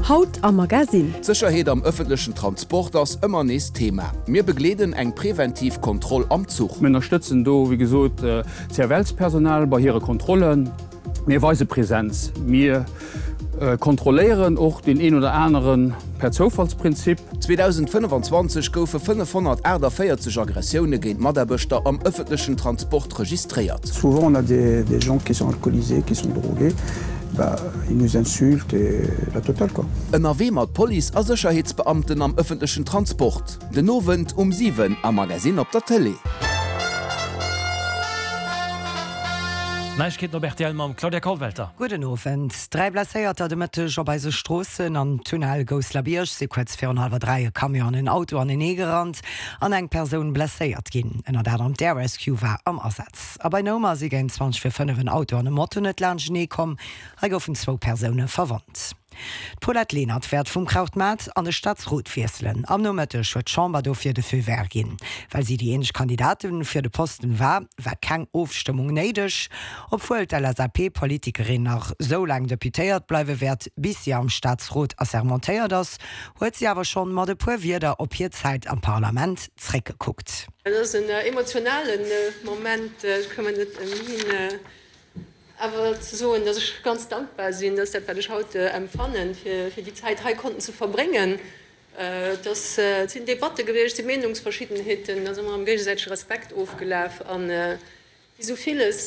Haut am Magasinn. D'Sécherheet am ëffentlechen Transport ass ëmmer nees Thema. Mir begleeden eng preventiv Kontroll am Zuch. Mir ënnerstëtzen do, wéi gesot, d'CFL-Personal bei hire Kontrollen. Mir weise Präsenz. Mir kontrolléieren och deen een oder anere per Zoufallsprinzip. 2025 goufe 548 Aggressioune géint Mataarbechter am ëffentlechen Transport registréiert. Souvent on a des des gens qui sont alcoolisés, qui sont drogués, bah ils nous insultent et la totale quoi. Ënnerwee mat Police a Sécherheetsbeamten am ëffentlechen Transport, den Owend um 7 am Magasinn op der Tëlee. Neiegkeeten op rtl mam Claudia Kollwelter. Gudden Owend. 3 Blesséierter de Mëtteg op eise Stroossen. Am Tunnel Gousselerbierg si kuerz virun hallwer 3 e Camion an en Auto anenee gerannt an eng Persoun blesséiert ginn. Ënnert anerem d'Air Rescue war am Asaz. A bei Noumer si géint 20 vir 5 en Auto an e Moto net laanschtenee komm. Hei goufen zwou Persoune verwonnt. D'Paulette Lenert wäert vum Krautmaart an de Staatsrot wiesselen. Am Nomëtteg huet d'Chamber dofir de Feu vert ginn. Well si déi eenzeg Kandidatin fir de Posten war, war keng Ofstëmmung néideg. Obwuel d'LSAP-Politikerin nach sou laang Deputéiert bleiwe wäert, bis si am Staatsrot assermentéiert ass, huet si awer schonn mat e puer Wierder op hir Zäit am Parlament zréckgekuckt. Et ass en emotionale Moment, ech komme net ëmhin Awer ze soen, dass ech ganz dankbar sinn, dass dat, wat ech haut empfannen, fir déi Zäit hei konnten ze verbréngen. Et ass, et sinn Debatte gewiescht, et si Meenungsverschiddenheeten, et ass ëmmer am géigesäitege Respekt ofgelaf. A wéi esou villes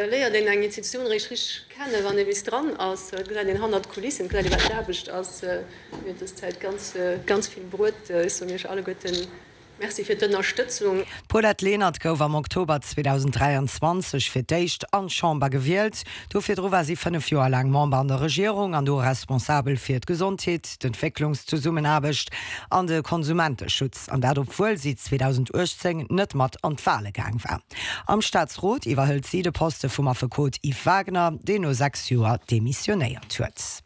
léiert een eng Institutioun eréischt richteg kennen, wann ee bis dran ass. Et gesäit een hannert d'Kulissen, et gesäit ee wat d'Aarbecht ass. Mir huet dës Zäit ganz, ganz vill bruet. Ech soen Iech alleguerten Merci fir d'Ënnerstëtzung. D'Paulette Lenert gouf am Oktober 2023 fir d'éischt an d'Chamber gewielt. Do virdru war si 5 Joer laang Member an der Regierung an do responsabel fir d'Gesondheet, d'Entwécklungszesummenaarbecht an de Konsumenteschutz. An dat obwuel si 2018 net mat an d'Wale gaang war. Am Staatsrot iwwerhëlt si de Poste vum Affekot Yves Wagner, deen no 6 Joer demissionéiert huet.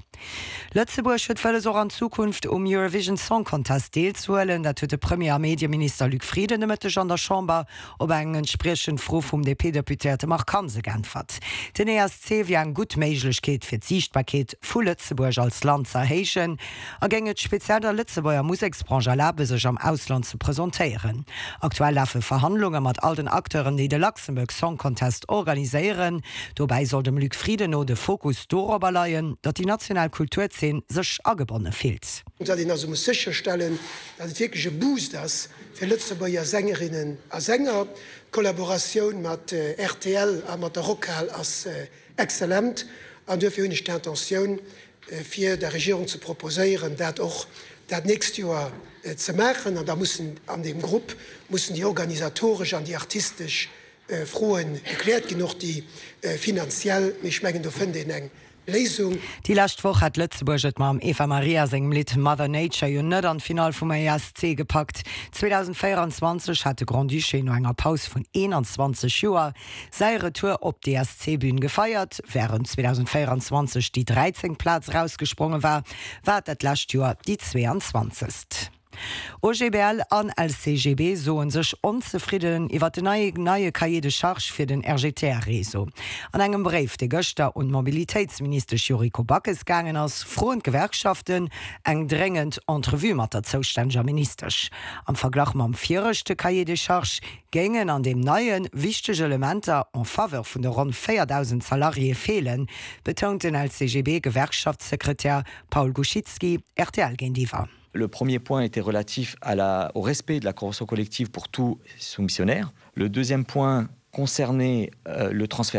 Lëtzebuerg huet wëlles och an Zukunft um Eurovision Song Contest deelzehuelen. Dat huet de Premier a Medieminister Luc Frieden de Mëtteg an der Chamber op eng entspriechend Fro vum DP-Deputéierte Marc Hansen geäntwert. Den ESC wier eng gutt Méiglechkeet fir d'Siichtbarkeet vu Lëtzebuerg als Land ze erhéijen a géing et speziell der Lëtzebuerger Museksbranche erlabe sech am Ausland ze presentéieren. Aktuell lafe Verhandlunge mat all den Acteuren déi de Luxembourg Song Contest organiséieren. Dobäi soll dem Luc Frieden no de Fokus dorobber leien, datt déi national Kulturzeen sech agebonne fillt. Datt een also muss sécherstellen, datt et wierklech e Boost ass fir Lëtzebuerger Sängerinnen a Sänger. D'Kollaboratioun mat rtl a mat der Rockhal ass exzellent an duerfir hunn ech d'Intentioun, fir der Regierung ze proposéieren, dat och dat nächst Joer ze maachen. An da mussen an deem Grupp mussen déi organisatoresch an déi artistesch Froen gekläert ginn, och déi finanziell. Mee ech mengen, do fënnt een eng Léisung. Déi lescht Woch hat Lëtzebuerg et mam Eva Maria sengem Lidd Mother Nature jo net an d'Finall vum ESC gepackt. 2024 hat de Grand-Duché no enger Paus vun 21 Joer säi Retour op d'ESC-Bün gefeiert. Wärend 2024 déi 13. Plaz erausgespronge war, war et dat lescht Joer déi 22. OGBL an LCGB soe sech onzefridden iwwer den neie Cahier de charges fir den RGTR-Réseau. An engem Bréif, dee gëschter un d'Mobilitéitsministesch Yuriko Backes gaangen ass, froen d'Gewerkschaften eng dréngend Entrevue mat der zoustänneger Ministesch. Am Verglach mam viregte Cahier des charges géingen an deem neie wichteg Elementer en faveur vun de ronn 4.000 Salariéë feelen, betount den LCGB-Gewerkschaftssekretär Paul Guschitzky rtl géintiwwer. Le premier point était relatif à la, au respect de la convention collective pour tous soumissionnaires. Le deuxième point concernait euh, le transfert.